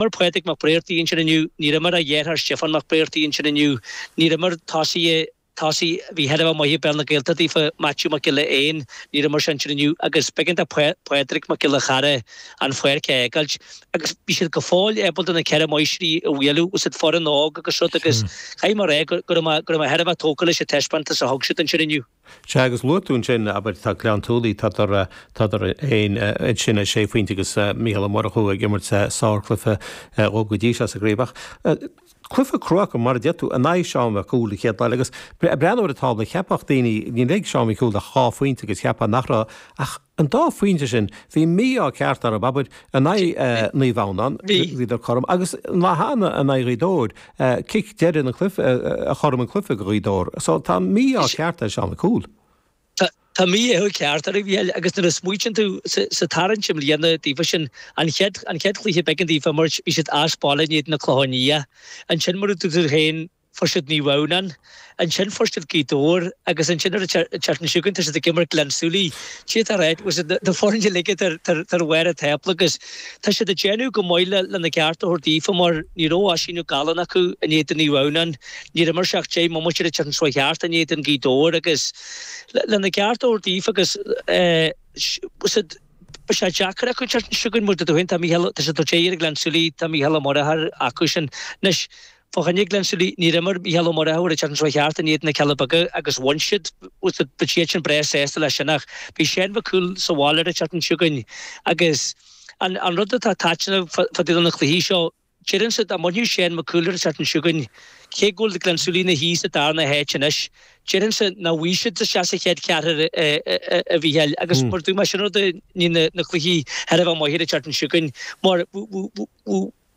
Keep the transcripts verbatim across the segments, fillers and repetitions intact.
Imir Pádraig Mac Bréartaigh ansin inniu, níor imir a dheartháir Stiofán Mac Bréartaigh ansin inniu, níor imir tosaí tosaí a bhí thar a bheith maith i bpeil na Gaeltachta daofa, Maitiú Mac Giolla Éin, níor imir sé ansin inniu agus b'éigean do Phádraig Mac Giolla Chearra an pháirc a fhágáilt agus bhí siad go fóill ábalta na ceithre máistrí a bhualadh, bhí siad foireann óg agus rud agus caithfidh mé a rá go raibh mé go raibh mé thar a bheith tógtha leis an taispeántas a thug siad ansin inniu. Sea, agus luaigh tú ansin, abair, tá Gleann tSúilí, tádar, tádar féin ansin ar sé phointe agus Mícheál Ó Murchú ag imirt sárchluiche dhóibh go dtí seo sa gcraobh. Ach cluiche crua acu, mar a deir tú, in aghaidh Seán Mhic Cumhaill an chéad lá eile agus ag breathnú ar an tábla, cheapfadh daoine, níl ag Seán Mhic Cumhaill ach dhá phointe agus cheapfá nach raibh ach an dá phointe sin, bhí mí-ádh ceart orthu, abair, in aghaidh Naomh Adhamhnáin, bhíodar cothrom, agus an lá cheana in aghaidh Ghaoth Dobhair, cic deiridh an chluiche, a chothrom an cluiche do Ghaoth Dobhair. So tá mí-ádh ceart ar Seán Mac Cumhaill. Tá mí-ádh ceart orthu, a Mhícheáil, agus nuair a smaoitíonn tú sa tarraingt i mbliana daofa sin, an chéad an chéad chluiche b'éigean daofa imirt, bhí siad as baile in éadan na Clochán Liath. Ansin mar a dúirt tú féin, fuair siad Naomh Adhamhnáin, ansin fuair siad Gaoth Dobhair agus ansin ar an tseachtain seo chugainn tá siad ag imirt Gleann tSúilí. Sea tá right, bhfuil siad na foirne uilig tar tar bharr an tábla agus tá siad ag déanamh go maith le lena gceart a thabhairt daofa mar ní raibh Oisín Ó Galláin acu in éadan Naomh Adhamhnáin, níor imir sé ach deich mbomaite ar an tseachtain seo thart in éadan Gaoth Dobhair agus lena gceart a thabhairt daofa agus eh bhfuil siad Beidh sé deacair acu an tseachtain seo chugainn mar dúirt tú féin tá Mícheál tá siad ag tabhairt aghaidh ar Ghleann tSúilí tá Mícheál Ó Muircheartaigh acu sin. Anois fá choinne Gleann tSúilí níor imir Mícheál Ó Muircheartaigh an tseachtain seo thart in éadan na Cealla Beaga agus bhain siad beidh siad sin breá sásta leis sin ach beidh Seán Mac Cumhaill sa bhaile ar an tseachtain seo chugainn agus an an rud atá taitneamh fá dtaobh de na cluichí seo Deirimse dá mbainfeadh Seán Mac Cumhaill ar an tseachtain seo chugainn, cé go bhfuil Gleann tSúilí ina shuí sa darna háit anois, deirimse nach bhfaighidh siad isteach sa chéad cheathrar a Mhícheáil agus mar dúirt mé sin rud a ní na cluichí thar a bheith maith ar an tseachtain seo chugainn mar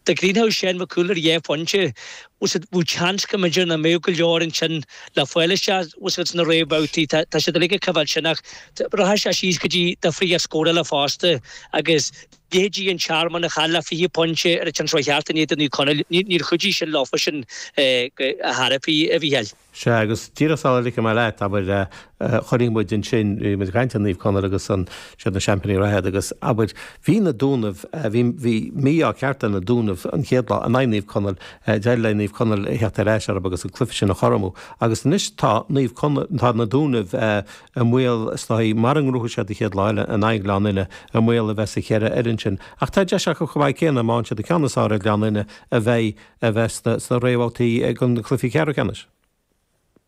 dá gcríochnódh Seán Mac Cumhaill ar dhá phointe bheadh seans go mb'fhéidir nach mbeadh go leor ansin le fáil isteach sna réamhbhabhtaí. Tá siad uilig ag coimhéad sin ach rachaidh sé síos go dtí difríocht scórála fosta agus leithéidí an Tearmann a chaill le fiche pointe ar an tseachtain seo thart in éadan Naomh Conaill, níor chuidigh sin leofa sin a thairbhí, a Mhícheáil. Sea, agus díreach sula ligfidh mé leat, abair, chonaic muid ansin, bhí muid ag caint ar Naomh Conaill agus an, siad na seaimpíní reatha iad agus, abair, bhí na Dúnaibh, bhí, bhí mí-ádh ceart ar na Dúnaibh an chéad lá in aghaidh Naomh Conaill, d'éirigh le Naomh Conaill a theacht ar ais orthu agus an cluiche sin a chothromú agus anois tá Naomh Conaill, tá na Dúnaibh i mbaol, is dóigh, mara ngnóthaíonn siad an chéad lá eile in aghaidh Ghleann Fhinne, i mbaol a bheith sa cheithre fhoireann sin. Ach tá deis acu chomh maith céanna, má fhaigheann siad an ceann is fearr ar Ghleann Fhinne, a bheidh a bheith sna réamhbhabhtaí ag na cluichí ceathrú ceannais.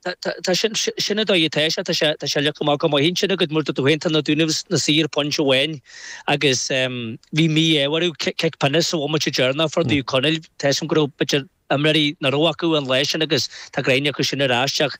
Tá sin, sin an dóigh atá sé, tá sé, tá sé leagtha amach go maith ansin agat mar dúirt tú féin, tá na Dúnaibh ina suí ar phointe amháin agus bhí mí-ádh orthu, cic pionóis sa bhomaite deireanach fuair Naomh Conaill, tá 'fhios a'm go raibh b'fhéidir imreoirí nach raibh acu an lá sin agus tá greim acu sin ar ais ach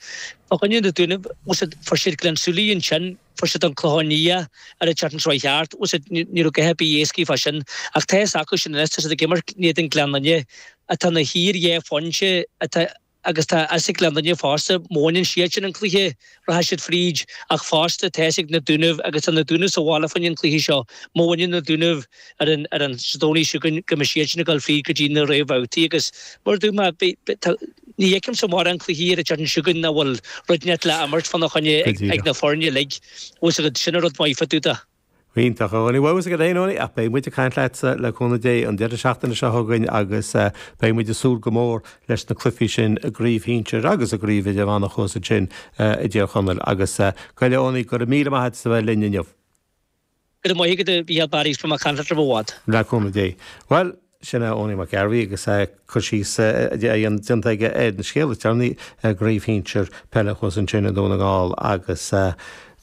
fá choinne na Dúnaibh, bhfuil 'fhios a'd, fuair siad Gleann tSúilí ansin, fuair siad an Clochán Liath ar an tseachtain seo thart, bhfuil 'fhios a'd, ní raibh a dhath ar bith éascaí fá sin ach tá 'fhios acu sin anois, tá siad ag imirt in éadan Gleann Fhinne atá ina shuí ar dhá phointe atá agus tá fhios ag Gleann Fhinne fosta, má bhaineann siad sin an cluiche, rachaidh siad fríd, ach fosta tá fhios ag na Dúnaibh, agus tá na Dúnaibh sa bhaile fá choinne an cluiche seo, má bhaineann na Dúnaibh ar an ar an Domhnach seo chugainn go mbeidh siad sin ag dul fríd go dtí na réamhbhabhtaí agus mar a dúirt mé, beidh, tá, ní fheicimse mórán cluichí ar an tseachtain seo chugainn nach bhfuil rud inteacht le imirt fána choinne ag na foirne uilig, bhfuil 'fhios agat, sin an rud maith fá dtaobh de. Iontach, a Eoiní. Bhuel, bhfuil 'fhios agat féin, Eoiní, ach beidh muid ag caint leatsa le cúnamh Dé an deireadh seachtaine seo chugainn agus beidh muid ag súil go mór leis na cluichí sin i gcraobh shinsir agus i gcraobh idirmheánach thuas ansin i dTír Chonaill. Agus go raibh, Eoiní, go raibh míle maith agat as a bheith linn inniu. Go raibh maith agat, a Mhícheál Barry, is beidh mé ag caint leat roimh i bhfad. Le cúnamh Dé. Bhuel, Sin é Eoiní Mac Gairbhí agus cur síos déanta aige ar an scéal is deireanaí i gcraobh shinsir peile thuas ansin i nDún na nGall agus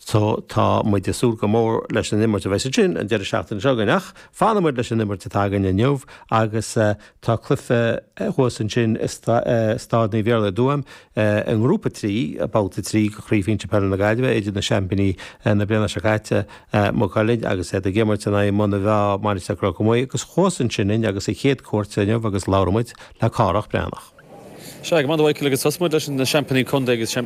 tá muid ag súil go mór leis an imirt a bheas ansin an deireadh seachtaine seo chugainn. Ach fanfaidh muid leis an imirt atá againn inniu agus tá cluiche thuas ansin i Staid Naomh Iarlaith i dTuaim i nGrúpa trí, Babhta trí de Chraobh Shinsir Peile na Gaillimhe idir na seaimpíní na bliana seo caite, Maigh Cuilinn, agus iad ag imirt in aghaidh Muine Mheá, Mainistir Chnoc Muaidhe, agus thuas ansin linn agus a chéad cuairt inniu agus labhraíonn muid le Cárthach Breathnach. Sea go maith Michael agus tosóidh muid leis na seaimpíní contae agus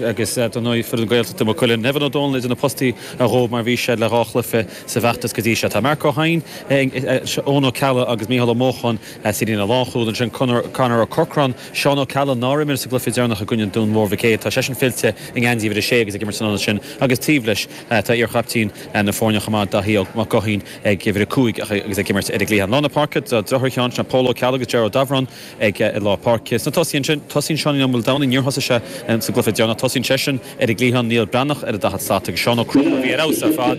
agus don ndóigh foireann Gaeltachta Maigh Cuilinn. Nevin Ó Dónaill idir na postaí a dhó mar bhí sé le dhá chluiche sa bhfeachtas go dtí seo. Tá Mark Ó hEidhin, Eoin Ó Ceallaigh agus Mícheál Ó Mócháin sa líne lánchúil ansin Conor Conor Ó Corcráin, Seán Ó Ceallaigh nár imir sa gcluiche deireanach i gcoinne Dún Mór Mhic Éil. Tá seisean fillte i ngeansaí uimhir a sé agus ag imirt san ionad sin agus taobh leis tá iarchaiptín na foirne chomh maith Daithí Ó Mac Guithín ag uimhir a cúig agus ag imirt ar an gcliathán. Lár na páirce tá deartháir Sheáin sin Pól Ó Ceallaigh agus Ger Ó Dabhráin ag lár páirce. Sna tosaithe ansin tosaíonn Seánie Ó Maoldomhnaigh níor thosaigh sé sa gcluiche deireanach tosaíonn seisean ar an gcliathán Niall Breathnach ar an daichead slat agus Seán Ó Conchúir a bhí ar fheabhas ar fad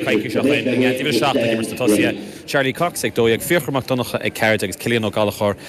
coicís ó shin i ngeansaí uimhir a seacht ag imirt sna tosaithe. Charlie Cox ag dó dhéag Fiachra Mac Donncha ag ceathair agus Cillian Ó Gallchóir